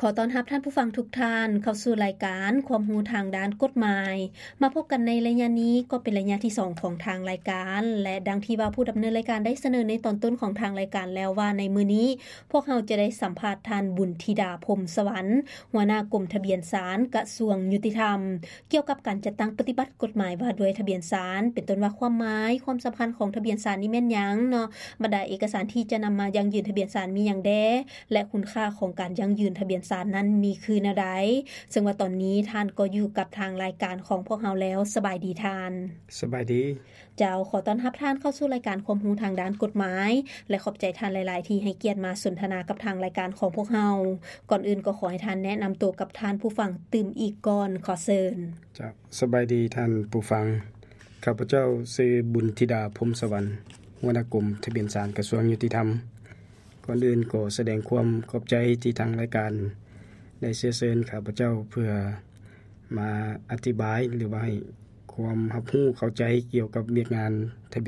ຂໍຕ້ອນຮັບທ່ານຜູ້ຟັງທຸກທ່ານເຂົ້າສູ່ລາຍການຄວາມຮູ້ທາງດ້ານກົດໝາຍ. ມາພົບກັນໃນໄລຍະນີ້ກໍເປັນໄລຍະທີສອງຂອງທາງລາຍການ ແລະ ດັ່ງທີ່ວ່າຜູ້ດຳເນີນລາຍການໄດ້ສະເໜີໃນຕອນຕົ້ນຂອງທາງລາຍການແລ້ວວ່າ ໃນມື້ນີ້ພວກເຮົາຈະໄດ້ສຳພາດທ່ານ ບຸນທິດາ ພົມສະຫວັນ ຫົວໜ້າກົມທະບຽນສານ ກະຊວງຍຸຕິທຳ ກ່ຽວກັບການຈັດຕັ້ງປະຕິບັດກົດໝາຍວ່າດ້ວຍທະບຽນສານ ເປັນຕົ້ນວ່າຄວາມໝາຍ, ຄວາມສຳຄັນຂອງທະບຽນສານນີ້ແມ່ນຫຍັງເນາະ, ບັນດາເອກະສານທີ່ຈະນຳມາຢັ້ງຢືນທະບຽນສານມີຫຍັງແດ່ ແລະ ຄຸນຄ່າຂອງການຢັ້ງຢືນທະບຽນສານນັ້ນມີຄືແນວໃດ. ເຊິ່ງວ່າຕອນນີ້ທ່ານກໍຢູ່ກັບທາງລາຍການຂອງພວກເຮົາແລ້ວ. ສະບາຍດີທ່ານ. ສະບາຍດີ. ເຈົ້າ, ຂໍຕ້ອນຮັບທ່ານເຂົ້າສູ່ລາຍການຄວາມຮູ້ທາງດ້ານກົດໝາຍ ແລະ ຂອບໃຈທ່ານຫຼາຍໆທີ່ໃຫ້ກຽດມາສົນທະນາກັບທາງລາຍການຂອງພວກເຮົາ. ກ່ອນອື່ນກໍຂໍໃຫ້ທ່ານແນະນຳໂຕກັບທ່ານຜູ້ຟັງຕື່ມອີກກ່ອນ. ຂໍເຊີນ. ເຈົ້າ, ສະບາຍດີທ່ານຜູ້ຟັງ. ຂ້າພະເຈົ້າຊື່ ບຸນທິດາ ພົມສະຫວັນ ຫົວໜ້າກົມທະບຽນສານ ກະຊວງຍຸຕິທຳ. ກ່ອນອື່ນກໍສະແດງຄວາມຂອບໃຈທີ່ທາງລາຍການໄດ້ເຊື້ອເຊີນຂ້າພະເຈົ້າເພື່ອມາອະທິບາຍ ຫຼືວ່າໃຫ້ຄວາມຮັບຮູ້ເຂົ້າໃຈກ່ຽວກັບວຽກງານທະບຽນ